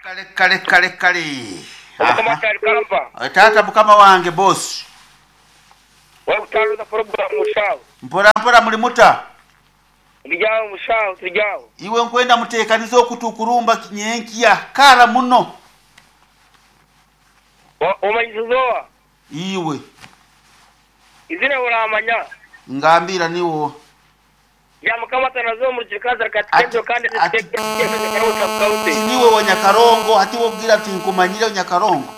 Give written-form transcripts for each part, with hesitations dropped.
Kale kale kale kale. Omukama Aha. Kyali Kampa. Taata mukama wange boss. Webale kutambuza program mushaho. Mpora mpora muli muta? Turi aho mushaho turi aho. Iwe nkwenda mutekanize oku tukurumba nyenkya kara muno. Omanyisize oha? Iwe. Izina oramanya? Ngambira niwe oha? Ya mukama atanaze omu rukiri Katenjo kandi Ati niwe wa Nyakarongo hati wobwira ati nkumanyire Nyakarongo.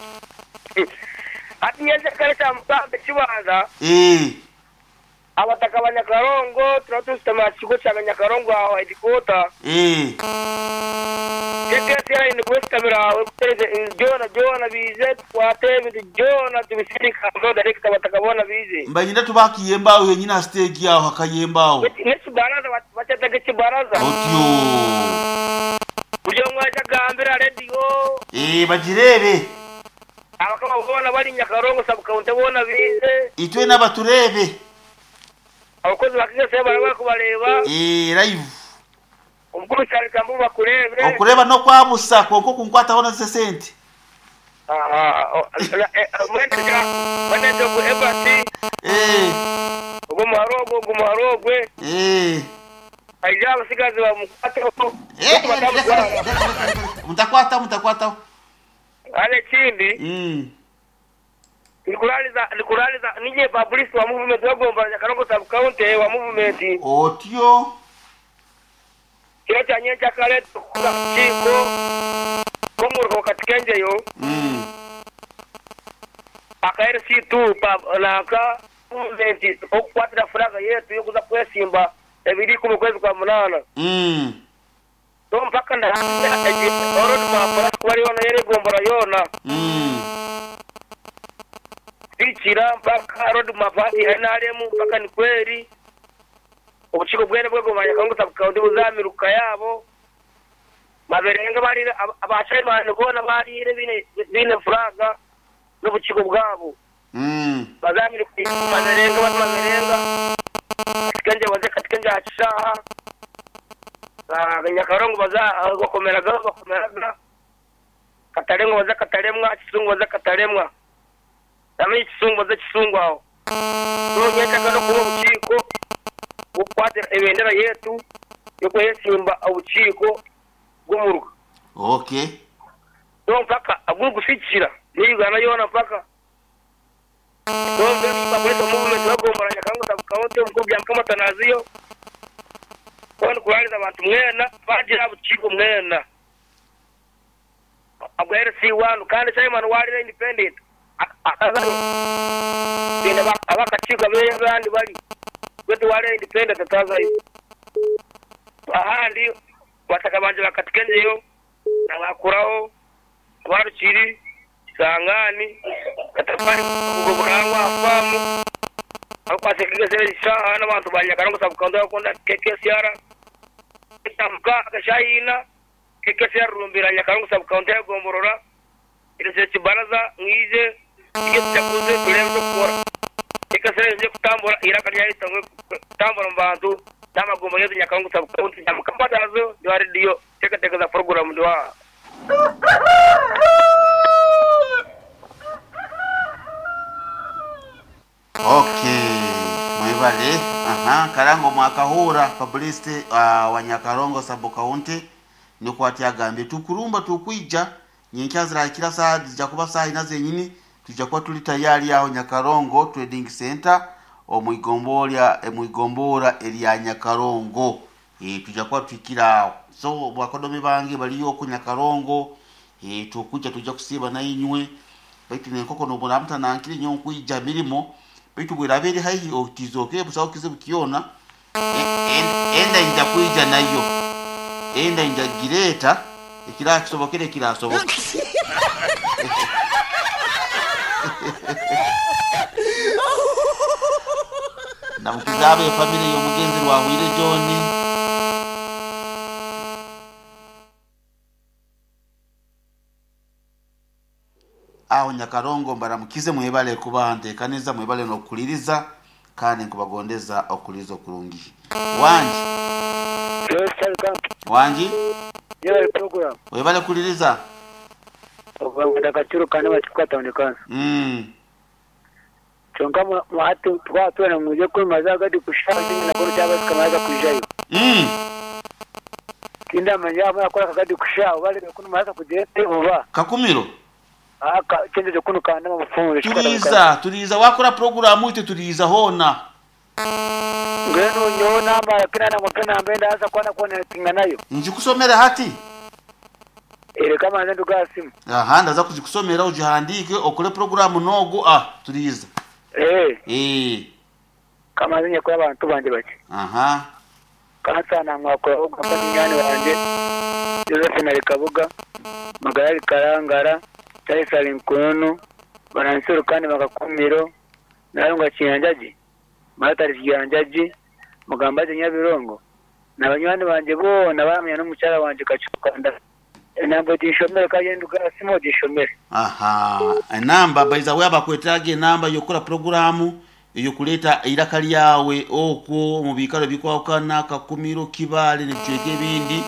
Hati nyenze kare kya mugambe kibanza. Eh. Abataka ba Nyakarongo turaba tusitama aha kigo kya Nyakarongo aho headquarter. Eh. KKCR nikusitamira aho kutereza byona byona bize tukwate ebintu byona tubisindika aho direct abataka bona bize. Mbanyine tubakiyemba aho yenyine aha stage aho hakayemba aho. N'ekibaraza bakyetaga ekibaraza. Otyo. Buri omwe aje agambire aha radio. Eh bagirebe. Abakama boona bari Nyakarongo sub county boona bize. Itwena baturebe. Abakozi ba KKCR baraba barikubareeba. Eh live. Omukuru Charles Kambu bakureebe. Okureba n'okwabusa kwonka okunkwataho nazo esente. Mwene ogwo Ebert. Eh. Ogwo muhara ogwo ogwo muhara ogwe. Eh. Aije abasigazi bamukwateho. Eh, mutakwataho mutakwataho. Hane ekindi. Ndikurariza ndikurariza ninye publicist wa movement wa Nyakarongo sub county wa movement. Otyo. Kiro kya nyenkyakare tukuza kukiiko k'omuruka Katikenjeyo. Aka LC2 pa nanka movement okukwatira flag yetu y'okuza kwesimba ebiri ikumi okwezi kwa munaana. So mpaka ndahamya egi road map erikuba eri yoona y'egombolola yoona. Kuhikira mpaka road map hati ya NRM mpaka nikweri obukiiko bwena bw'egombolola Nyakarongo sub county buzamiruka yaabo. Maberenga bariire aba chairman boona bariire baine flag n'obukiiko bwabo. Bazamiruka Maberenga baze Maberenga, Katikenje baze Katikenje aha kishaaha, Nyakarongo baze aha Bakomeraga Bakomeraga, Kataremwa baze Kataremwa, Kisungu baze Kataremwa. Namenye Kisungu baze Kisungu aho. So nyenkya n'okuba obukiiko bw'okukwatira ebendera yetu y'okwesimba obukiiko bw'omuruka. Okay. So mpaka ogurikusikira ni Uganda yoona mpaka. So mbwenu Public Movement w'egombolola Nyakarongo Sub County omukuru Byamukama Atanaziyo hoona kurariza abantu mwena bagira aha bukiiko mwena obwa LC1 kandi chairman warira independent akazayo twine ab'akakiiko abu abandi bari beitu warira independent atazayo. Ahandi bataka bangye ba Katikengyeyo na Bakuraho, Rwarukiri, Kisangani, Katafari, Bugo Burangwa aha faamu abakwatse KKCR eshaaha n'abantu ba Nyakarongo sub county abakukunda KKCR eshaaha mukaaga eshaaha ina KKCR Rumbira Nyakarongo sub county y'egomborora ereetsire ekibaraza mwije turye tujaguze tureebe eky'okukora. KKCR eije kutambura eiraka ryayo ritangwe kutambura omu bantu n'amagomba gaitu Nyakarongo sub county Nyamukama ndi wa rediyo nteekateeka za puroguraamu ndi waaha. Okay, mwebale. Aha, Karango mwakahura publicity wa Nyakarongo sub county nikwo ati agambye tukurumba tukwija nyenkya zirakira saa zija kuba saa ina zenyini tuja kuba tuli tayari aho Nyakarongo Trading Center omwigombora omwigombora erya Nyakarongo. E, tuja kuba twikira aho. So bakodomi bange baliyo ku Nyakarongo e, tukuja tuja kusiba na inywe baitu nenkoko nobona mutanankire nyo nkwija mirimo baitu bwerabere haihi otizoke busaho kizibu kiona enda nja kwija nayo enda nja gireta ekirakisobokere kirasoboka. Namukizabe family y'omugenzi Rwahwire John. Aho Nyakarongo mbaramukize mwebale kuba ntekaneza mwebale n'okuliriza kandi nkubagondeza okuliza okurungi. Wangi. Yes, Charles Kamp. Wangi. Yebale program. Webale kuliriza. Obwo Kakuru kandi Bakikuka Town Council. Kyonka hati twaba twena mwije kwimaza agadi kushaaha zimwe nabwo nikyabaasika muraza kwijayo. Tindamanya yaaba murakora akagadi kushaaha oba reero ku nimuraza kugira ente oba. Kakumiro. Aka kyenjeje kunu kandama bufunze Kikuka Town Council. Turiiza, turiiza waakora puroguraamu itwe turiiza hoona. Mbwenu nyowe namara kinana ngu mpe namba endaasa kuba nakukonekitinga nayo. Ngikusomere hati? Reka mbanze nduge aha simu. Aha, ndaza kugikusomera ogihandiike okore puroguraamu n'ogu. Ah, turiiza. Ee. Ee. Ka mbanze nyekore abantu bangye bakye. Aha. Kansaana mwakuraho ogamba munywani wangye Josephine ari Kabuga, Magara ari Karangara, Charles ari Nkununu, Baransi Rukande Makakumiro, Nalunga Kiyanjagi, Martha ari Kiyanjagi, Mugambage Nyabirongo, na banywani bangye boona baramanya n'omukyara wangye Kakyukanda. Enamba oginshomere kandi enduga aha simu oginshomere. Aha, enamba by the way abakwetaaga enamba y'okukora puroguraamu ey'okureeta eiraka ryawe okwo omu biikaro ebikwahukana, Kakumiro, Kibaale n'ebicweka ebindi.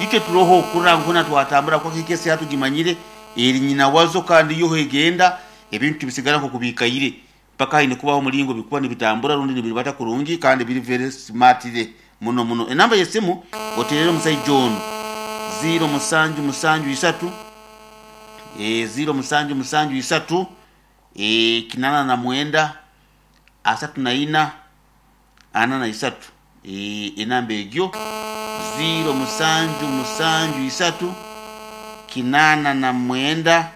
Itwe turoho kurora ngu hoona twatambura kwonka ekesi hati tugimanyire eri nyina wazo kandi yo egenda ebintu tibisigara nk'oku biikaire. Mpaka haine kubaho omuringo bikuba nibitambura rundi nibiribata kurungi kandi biri very smartly muno muno. Enamba y'esimu oteerere omusaija onu, ziiro musanju musanju isatu, ee, ziiro musanju musanju isatu, ee, kinana na mwenda, asatu na ina, ana na isatu. Ee, enamba egyo, ziiro musanju musanju isatu, kinana na mwenda,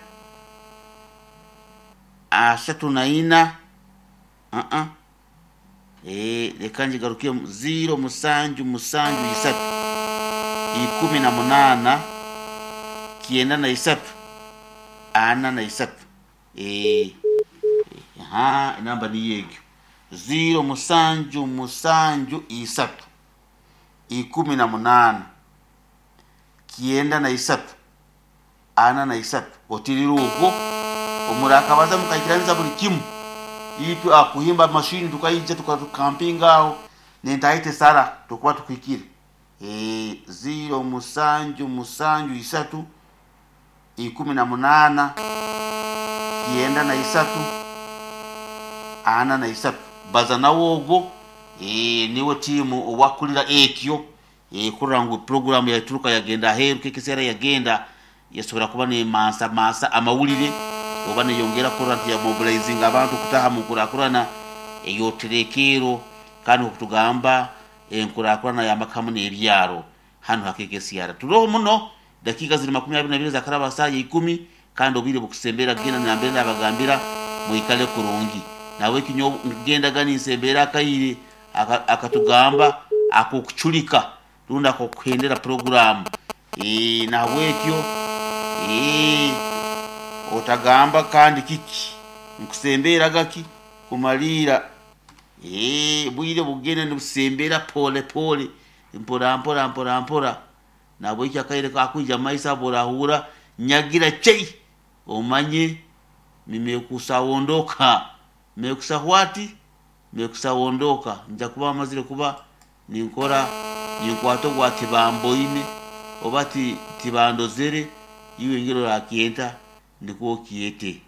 Asatu na ina, aa, ee, leka ngigarukemu, ziiro musanju musanju isatu, 18, 93, 43. Ee, aha, enamba niyo egyo. Ziiro musanju musanju isatu, 18, 93, 43. Otiirire okwo, omurakabaza mukaikiraniza buri kimwe. Itwe aha kuhimba mashini tukaija tukampinga aho n'entaahi tesara tukuba tukuhikire. Ee, ziiro musanju musanju isatu, 18, 93, 43. Baza nawe ogwo, ee, niwe tiimu owakukurira etyo. Kurora ngu puroguraamu yaturuka yagenda aheeru, KKCR yagenda yasobora kuba nemansamansa amawulire oba neyongera kurora nti yamobilizinga abantu kutaha mu nkurakurana ey'oterekeero kandi nk'oku tugamba enkurakurana y'amaka hamu n'ebyaro hanu ha KKCR. Turoho muno, dakiika ziri 22 zakaraba ha saaha ya ikumi kandi obwire bukusemberera kugenda nambere nabagambira mwikale kurungi. Nahabweki nyowe nkugendaga ninsemberera akaire akatugamba ak'okuculika rundi ak'okuhendera puroguraamu. Nahabwekyo otagamba kandi kiki, nkusembeeraga ki kumaliira obwire bugenda nibusembera pole pole, mpora mpora mpora mpora. Nahabwekyo akaire kakwija omu maiso aho obu orahurra nyagira chei, omanye nimekusawondoka. Mekusa what? Mekusawondoka. Nija kuba mazire kuba ninkora, ninkwata ogwa tibamboine oba ti tibandozere, iwe engeri orakyeta nikwo okyete.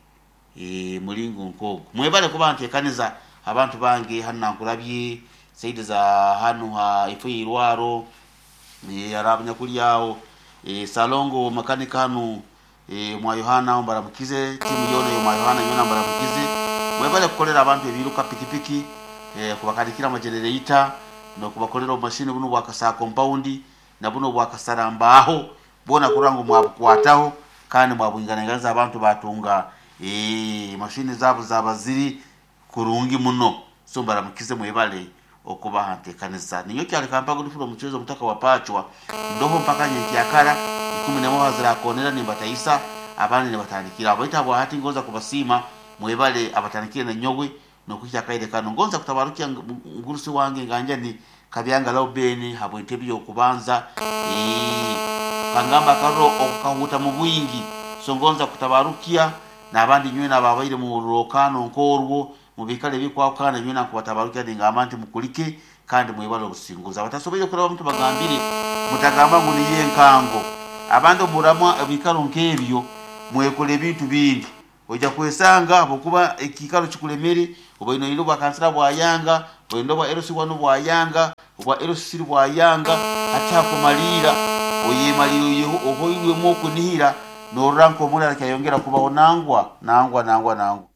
Muringo nk'ogwo. Mwebale kuba ntekaniza abantu bange hanu Nankulabye, saidi za hanu ha ifo y'eirwaro, hariho abanyakuri aho, Salongo makanika hanu omwa Yohana aho mbaramukize, tiimu yoona ey'omwa Yohana yoona mbaramukize. Mwebale kukolera abantu ebiiruka pikipiki, kubakanikira amajenereita, n'okubakolera obumashini bunu obwa kasaa kompaundi na bunu obwa kasara mbaaho, bwona kurora ngu mwabukwataho kandi mwabwinganainganiza abantu baatunga mashini zaabo zaaba ziri kurungi muno. So mbaramukize mwebale okuba aha nteekaniza. Ninyowe Kyaleka Mpago Ndifura Omucwezi Omutaka wa Pacwa ndoho mpaka nyenkyakara 11 aha zirakoonera nimbatahisa abandi nibatandikira aho. Baitu habwahati ngonza kubasiima mwebale abatandikire nanyowe n'okuhikya akaire kanu. Ngonza kutabarukya mugurusi wange nganjani Kabyanga Lauben habw'entebe y'okubanza. Kangamba akaroro okukahuuta mu bwingi. So ngonza kutabarukya n'abandi nywena ababaire mu rurorokano nk'orwo mu biikaro ebikwahukana nywena nkubatabarukya ningamba nti mukulike kandi mwebale obusinguzi. Abatasoboire kurabamu tubagambire mutagamba ngu niyo enkango. Abandi obu murabamu ebiikaro nk'ebyo Mwekole ebintu bindi. Oija kwesanga habwokuba ekiikaro kikulemere, obaire noyenda obwa kansara bwayanga, oyenda obwa LC1 bwayanga, obwa LC3 bwayanga, hati hakumaliira oyemaliire ohoirwemu okunihira norora nk'omurara kyayongera kubaho nangwa, nangwa, nangwa, nangwa.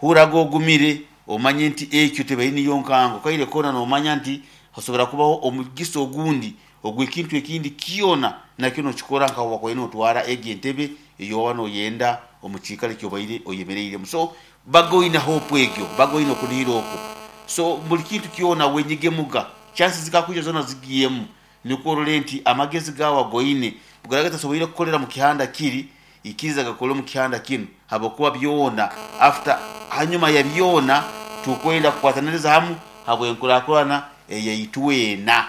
Hurraga ogumire omanye nti ekyo tebaire niyo nkango. Kaire koona nomanya nti hasobora kubaho omugisa ogundi ogw'ekintu ekindi kyona nakyo nokikora nka wakubaire notwara egi entebe ey'oba noyenda omu kiikaro eki obaire oyemereiremu. So baga oine hope egyo, baga oine okunihira okwo. So buri kintu kyona wenyigemuga, chances zikakwija zoona zigyemu nikwo orole nti amagezi gaawe agoine bugaraaba gatasoboire kukorera mu kihanda kiri, Ikiriza gakore omu kihanda kinu, habwokuba byona, after, hanyuma ya byona, tukwenda kukwataniriza hamu habw'enkurakurana eyaitu weena.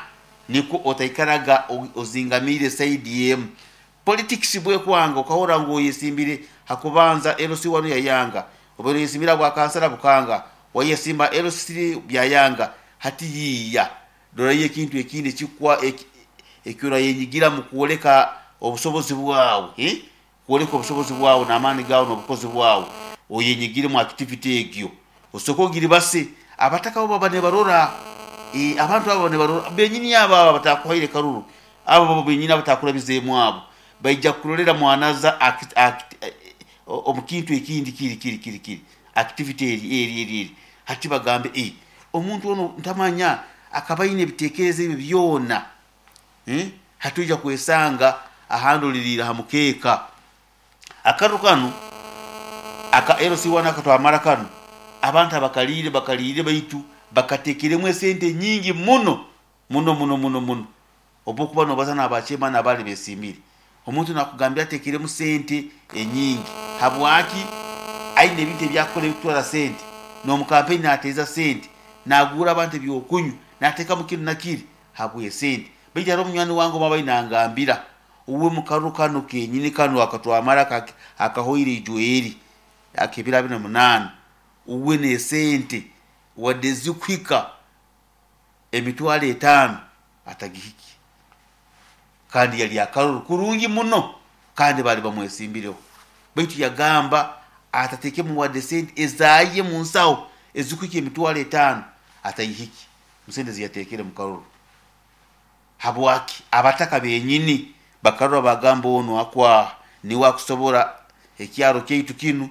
Nikwo otaikaraga ozingamiire saidi emu. Politics bwekwanga okahurra ngu oyesimbire ha kubanza LC wanu yayanga, obaire oyesimbire habwa kansara bukanga, wayesimba LC byayanga, hati yiiya Rorayo ekintu ekindi eki orayenyigiramu kwoleka obusobozi bwawe, kwoleka obusobozi bwawe n'amaani gaawe n'obukozi bwawe, oyenyigire mu activity egyo. Osooke ogiribase, abataka bo baba nibarora, abantu abo baba nibarora, benyini abo abo abatakuhaire karuru, abo abo benyini abatakurabizeemu abo, baija kukurorera mwanaza omu kintu ekindi kiri kiri kiri kiri, activity eri eri eri eri. Hati bagambe, Ee, omuntu onu ntamanya akaba aine ebitekerezo ebyo byona. Hati oija kwesanga ahandi oliriire ha mukeeka. Akaruru kanu aka LC1 akatwamara kanu, abantu abakaliire bakaliire baitu bakatekeremu esente nyingi muno muno muno muno muno. Obu okuba nobaza n'aba chairman abaali besimbire, omuntu nakugambira atekeremu sente enyingi. Habwaki? Aine ebintu ebyakukora ebikutwara sente, n'omu kampeyini nateeza sente, naguura abantu ebyokunywa, natekamu kinu na kiri habw'esente. Baitu haroho munywani wange omu abaire nangambira, uwe mukaruru kanu kenyini kanu akatwamara akahoire ijo eri ak'ebiro abiri na munaana, uwe n'esente wadde zikuhika emitwaro etaano atagihikye kandi yali akaruru kurungi muno kandi baali bamwesimbireho baitu yagamba atatekemu wadde sente ezaye munsaho ezikuhika emitwaro etaano atayihikye musente eziyatekere mukaruru. Habwaki? Abataka benyini bakarora bagamba onu akwaha niwe akusobora ekyaro kyaitu kinu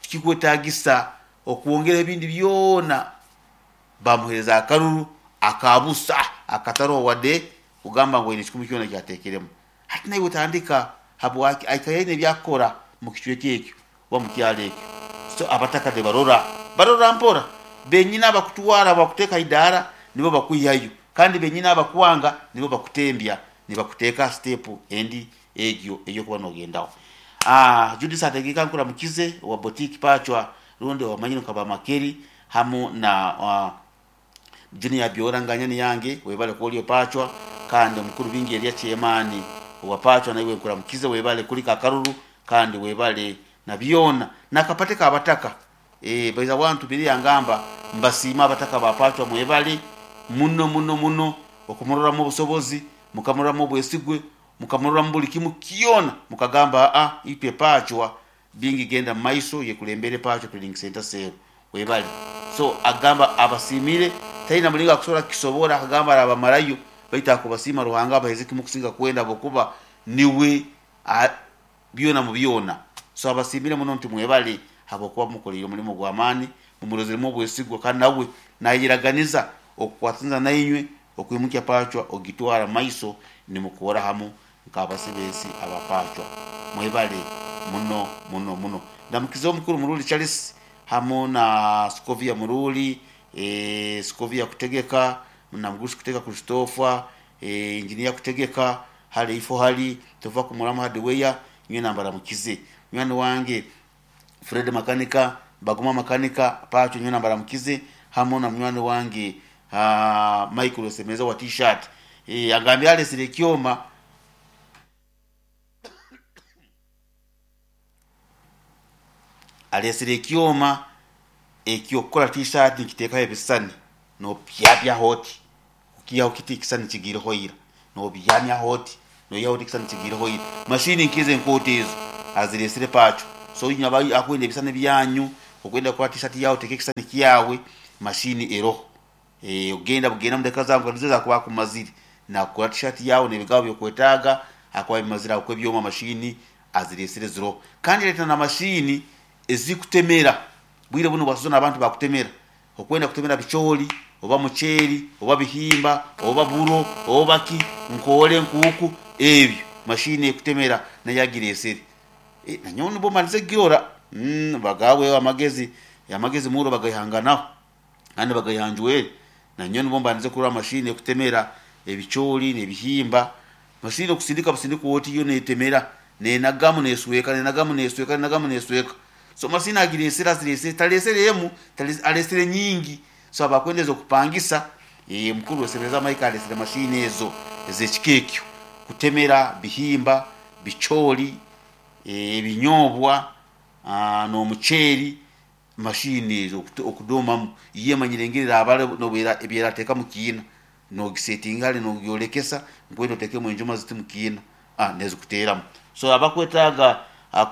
tikikwetagisa okwongeraho ebindi byona. Baamuheereza akaruru aka busa akataroho wadde kugamba ngu aine ekikumi kyona eki ateekeremu. Hati naiwe tandika. Habwaki? Aikaire aine ebi akukora mu kicweka ekyo oba mu kyaro ekyo. So abataka nibarora. Barora mpora. Benyini abakutwara bakuteeka ha idaara nibo bakwihayo kandi benyini abakwanga nibo bakutembya nibakuteeka ha siteepu endi egyo ey'okuba nogendaho. Judith Ategeka nkuramukize owa Boutique Pachwa rundi owamanyire nka Bamakeri hamu na Junior Byora nganyani yange webale kuba ori Pachwa kandi omukuru Bingi Elia Chairman owa Pachwa naiwe nkuramukize webale kulika akaruru kandi webale na byona nakapate kabataka baiza wantumire yangamba mbasiime abataka ba Pachwa mwebale muno muno muno okumuroramu obusobozi mukamuroramu obwesigwe mukamuroramu buli kimu kyona mukagamba aa itwe Pachwa Bingi genda mumaiso yekulembere Pacho Trading Centre Sero webale so agamba abasimire talina mulingo akusobora kukisobora akagamba arabamarayo baitu akubasiima Ruhanga abaheze kimu kusinga kwenda habwokuba niwe byona mu byona so abasimire muno nti mwebale habwokuba mumukoleire omulimo gwamani mumurozeremu obwesigwa kandi nawe nayeraganiza okukwataniza nainywe okwimukya Pachwa ogitwara mumaiso nimukora hamu Nk'abasibeesi aba Pachwa, mwebale muno muno muno. Ndamukize omukuru Muruli Charles hamu na Scovia Muruli, Scovia Kutegeka, na Mugurusi Kutegeka Christopher, Engineer Kutegeka, hali ifo hali, Tova Kumuramu Hardware, nyowe nambaramukize. Munywani wange Fred Makanika, Baguma Makanika, Pachwa nyowe nambaramukize, hamu na munywani wange Michael Osemeza wa T-shirt. Agambire alesire ekyoma. Alesire ekyoma eky'okukora T-shirt nikiteekaho ebisisani nopyapyaho oti, okiihaho kiti ekisisani kigiireho ira. Nobyamyaho oti, noihaho oti ekisani kigiireho ira. Mashini nk'ezo enkooto ezo azireesire Pacho. So inywe abakwenda ebisani byanyu, okwenda kukora t-shirt yaawe oteeke ekisani kyawe, mashini eroho. Ogenda bugenda omu dakiika zaawe nka nizo ezo akuba akumazire. Naakukora t-shirt yaawe n'ebigambo ebi orikwetaaga, akuba abimazire ahabw'okuba ebyoma mashini azireesire ziroho. Kandi yareeta na mashini ezikutemera. Bwire bunu bwa sizoni abantu bakutemera. Okwenda kutemera bicoori oba muceeri oba bihimba oba buro oba ki, nkoore, nkuuku, ebyo mashini ekutemera nayo agireesere. Nanyowe nibwo malize kugirora. Bagaabweho amagezi, amagezi muuro bagaihanganaho kandi bagaihanjwere. Nanyowe nibwo mbandize kurora mashini ekutemera ebicoori n'ebihimba. Mashini okusindika busindikwa oti yo neetemera, neenagamu neesweka, neenagamu neesweka, neenagamu neesweka. So masiini agireesire azireesire tareesire emu areesire nyingi so abakwenda ez'okupangisa eeh mukuru Rwesebereza Mike areesire masiini ezo ez'ekika ekyo kutemera bihimba, bicoori, ebinyoobwa n'omuceeri masiini ezo okudoomamu yo emanyire engeri eraabara n'obu ebi eraateeka mu kiina noogisetinga hare noogyorekesa nkwenda oteekemu enjuma ziti mu kiina. Nezikuteeramu. So abakwetaaga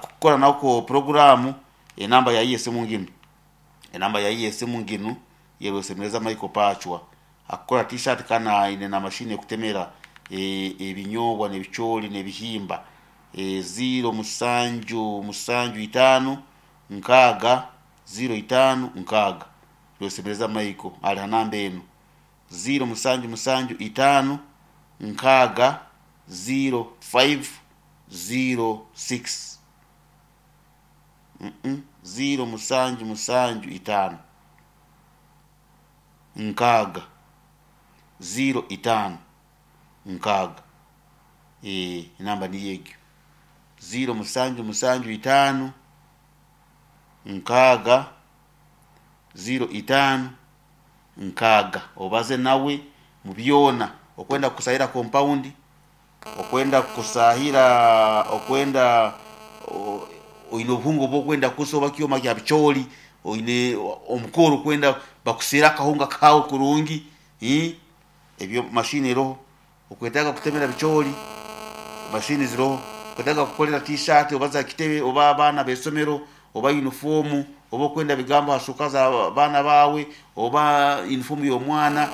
kukora nako puroguraamu, enamba yaye y'esimu nginu. Enamba yaye y'esimu nginu ye Rwesemereza Michael Pachwa. Akukora t-shirt kandi aine na mashini ekutemera ebinyoobwa n'ebicoori n'ebihimba. Ziiro musanju musanju itaano nkaaga ziiro itaano nkaaga. Rwesemereza Michael ari ha namba enu. Ziiro musanju musanju itaano nkaaga ziiro faivu ziiro sikisi ziiro musanju musanju itaano nkaaga ziiro itaano nkaaga. Enamba niyo egyo. Ziiro musanju musanju itaano nkaaga ziiro itaano nkaaga obaze nawe mu byona, okwenda kukusahira kompaundi, okwenda kukusahira, okwenda oine obuhunga obu orikwenda kusa oba kyoma kya bicoori, oine omukoro orikwenda bakuseere akahunga kaawe kurungi, ebyo mashini eroho. Okwetaaga kutemera bicoori, mashini ziroho. Okwetaaga kukorera tiishaati oba za kitebe oba abaana b'eisomero oba yunifoomu oba okwenda bigambo aha shuka za baana baawe oba yunifoomu y'omwana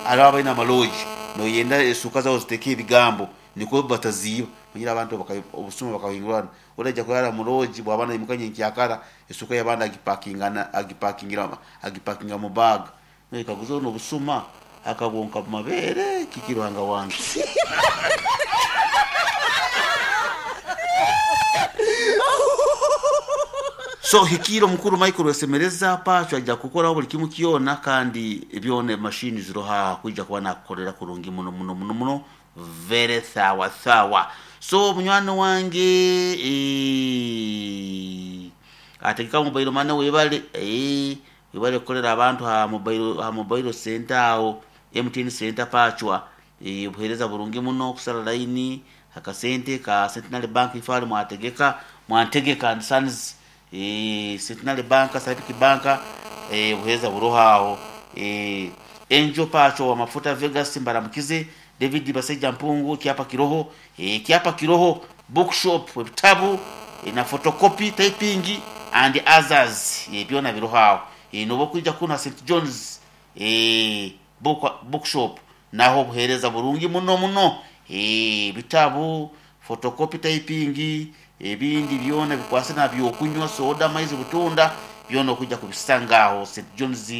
hariho abaine amaloogi noyenda eshuka zaabo zitekeho ebigambo nikwo bataziiba. Omanyire abantu obusuma bakahingurana, oraija kuraara omu loogi bwaba naimuka nyenkyakara eshuka y'abandi agipakinga omu baaga. Noyekaguza onu obusuma akabwonka mu mabeere kiki Ruhanga wange. So hikiire omukuru Michael Rwesemereza Pacho aija kukoraho buri kimwe kyona kandi byona emashini ziroho aha kwija kuba nakukorera kurungi muno muno muno muno very sawa sawa. So munywani wange eeh ategeka mobile money webale eeh Webale kukorera abantu aha mobile aha mobile center aho MTN center Pachwa obuhereza burungi muno kusara line akasente ka Centenary Bank ife ahari mwategeka Mwantegeka and sons Centenary Bank Stanbic Bank obuhereza buroho aho Angel Pachwa wa mafuta Vegas mbaramukize David Basaija Mpungu kyapa kiroho kyapa kiroho bookshop ebitabu na photocopy typing and others byona biroho aho noba okwija kunu ha St John's bookshop naho obuhereza burungi muno muno ebitabu photocopy typing ebindi byona bikwasire na byokunywa soda amaizi butunda byona okwija kubisanga aho St John's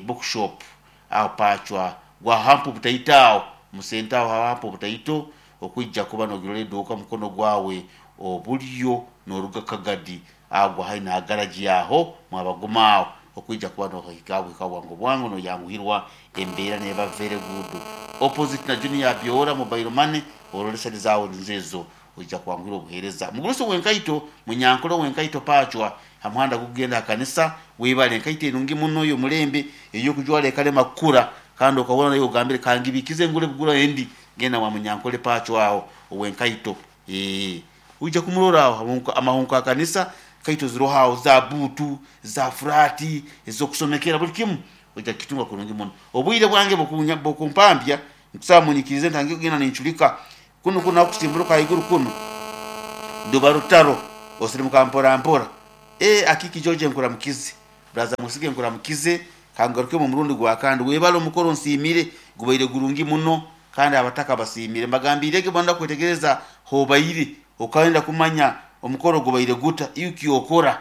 bookshop. Aho Pachwa gwa hampa obutaito aho musente aho hampa obutaito okwija kuba nogirora eduuka mukono gwawe obulyo noruga Kagadi aho gwa haihi na garagi aho mwabaguma aho okwija kuba nohika bwika bwangu bwangu noyanguhirwa embeera neba very good opposite na Junior Byora mobile money orore sente zawe nizo ezo oija kwanguhirwa obuhereza. Mugurusi wenkaito munyankole owenkaito Pachwa Ha muhanda gukugenda ha kanisa, webale enkaito enungi muno ey'omulembe ey'okujwara ekalema kukura kandi okahurra naiwe ogambire kangibikize ngure bugura endi. Genda mwa munyankole Pacho aho ow'enkaito. Ee, oija kumurora aho amahunku ha kanisa, enkaito ziroho aho za buutu, za furaati, ez'okusomekera buli kimu oija kukitunga kurungi muno. Obwire bwange bukumpambya. Nkusaba munyikirize ntandike kugenda nincurika. Kunu kunu ahu kusimburuka ahaiguru kunu ruba rutaro, osirimuka mpora mpora. Ee Akiiki George nkuramukize, Brother Mwesige nkuramukize, kangarukemu omurundi gwa kandi. Webale omukoro nsiimire, gubaire gurungi muno kandi abataka basiimire. Mbagambiire ge boona kwetegereza hobaire, okayenda kumanya omukoro gubaire guta, iwe kyokora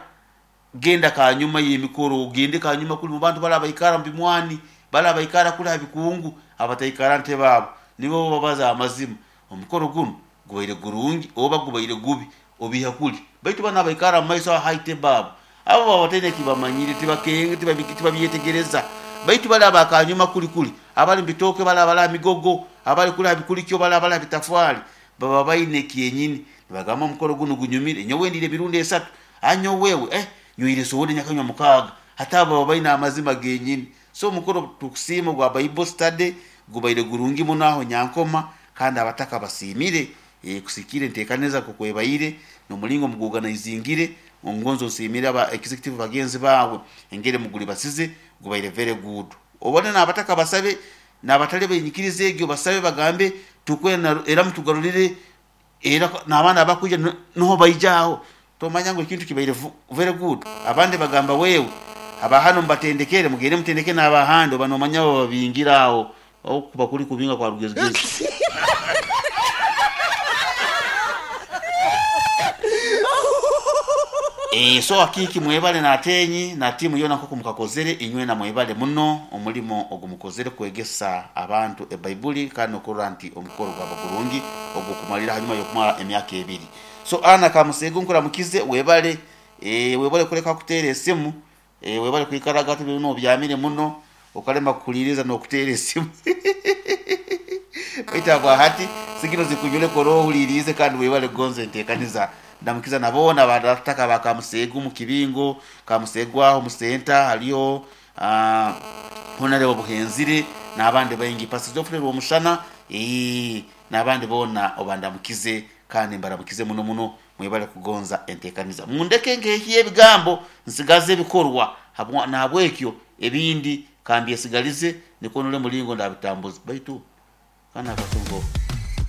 genda kanyuma y'emikoro, ogende kanyuma kuri mu bantu bari abaikara mu bimwani, bari abaikara kuri aha bikungu, abataikara ntebe abo, nibo babaza amazima. Omukoro gunu gubaire gurungi oba gubaire gubi, obiiha kuri. Baitu banu abaikara mu maiso aha high table abo, abo baba bataine eki bamanyire, tibakenga, tibabyetegereza. Baitu bari aba kanyuma kuri kuri, abari mu bitooke, bari abari aha migogo, abari kuri aha bikurikyo, bari abari aha bitafwari, baba baine kyenyini. Nibagamba omukoro gunu gunyumire, nyowe ndiire emirundi esatu, ah nyowe we, eh nywire soda nyakanywa mukaaga. Hati abo baba baine amazima genyini. So omukoro tukusiima ogwa Bible study gubaire gurungi muno aho Nyankoma, kandi abataka basiimire kusikiira enteekaniza nk'oku ebaire n'omuringo muguorganizingire. Ngonze osiimire aba executive bagenzi baawe engeri muguribasize, gubaire very good. Obone n'abataka basabe n'abatari b'enyikiriza egyo basabe bagambe tukwenda era mutugarurire era n'abandi abakwija niho baija aho. Tomanya ngu ekintu kibaire very good. Abandi bagamba wewe aba hanu mubatendekere mugende mutendeke n'abahandi oba nomanya bababingire aho okuba kuri kubinga kwa rugezigezi. Eeh so Akiiki mwebale n'Atenyi na tiimu yoona nk'oku mukakozere, inywena mwebale muno omulimo ogu mukozere kwegesa abantu ebaibuli kandi n'okurora nti omukoro gwaba gurungi ogw'okumalira hanyuma y'okumara emyaka ebiri. So Anna Kamuseegu nkuramukize webale eeh webale kuleka kuteera esimu eeh webale kwikaraga hati binu obyamire muno okalema kuhuliiriza n'okuteera esimu baitu habwahati sigino zikunyureka oroho ohuliiriize kandi webale kugonza enteekaniza. Ndamukiza na boona abataka ba Kamuseegu mu kibingo, Kamuseegu aho mu senta hariyo Honarebo Buhenzire n'abandi baingi, Pastor Geoffrey Rwomushana eeh n'abandi boona obandamukize Kandi mbaramukize muno muno, mwebale kugonza entekaniza. Mundeke nkehye ebigambo, nsigaze ebikorwa, nahabwekyo ebindi kambyesigalize, nikwo nole mulingo ndabitambuza. Baitu ka nakasunga oku.